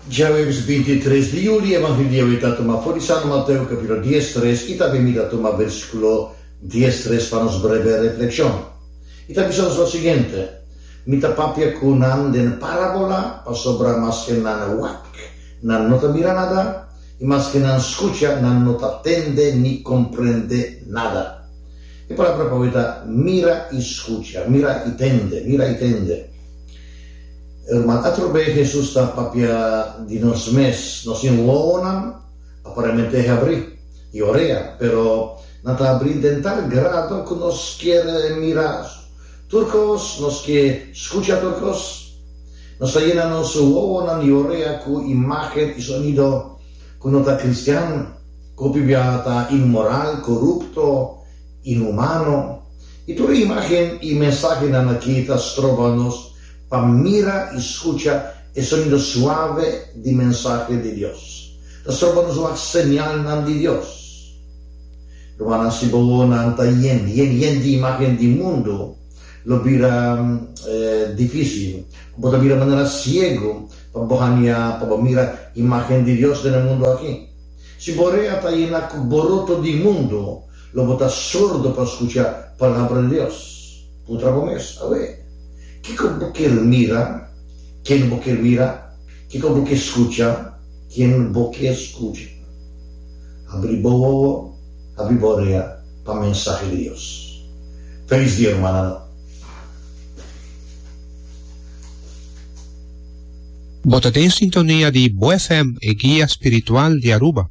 Djaweps 23 di juli, Evangelio di awe ta tuma for di San Mateo capítulo 13 i tambe mi ta tuma versículo 13 pa nos breve reflexion. I ta bisa nos lo siguiente, Mi ta papia ku nan den parabola, pasobra maske nan wak, nan no ta mira nada, i maske nan skucha, nan no ta tende ni komprende nada. E palabra pa awe ta mira i skucha, mira i tende, mira i tende. Ruman, atrobe Hesus ta papia di nos mes. Nos tin wowonan aparentemente habrí i orea, pero nan ta habrí den tal grado ku nos kier mira tur kos, nos ke skucha tur kos. Nos ta yena nos wowonan i orea ku imágen i sonido ku no ta kristian, ku hopi biaha ta inmoral, korupto, inhumano. I tur e imágen i mensahenan akí ta stroba nos pa mira i skucha e sonido suave di mensahe di Dios. Ta stroba nos wak señalnan di Dios. Rumannan, si bo wowonan ta yen, yen, yen di imágen di mundu, lo bira difísil. Bo ta bira manera siegu pa bo haña, pa bo mira imágen di Dios den e mundu akí. Si bo rea ta yena ku boroto di mundu, lo bo ta sordo pa skucha Palabra di Dios. Puntra bo mes, Awe, kiko bo kier mira? Ken bo kier mira? Kiko bo ke skucha? Ken bo ke skucha? Habri bo wowo, habri bo orea pa mensahe di Dios. Felis dia, rumannan. Bo ta den sintonia di Bo FM, e guia spiritual di Aruba.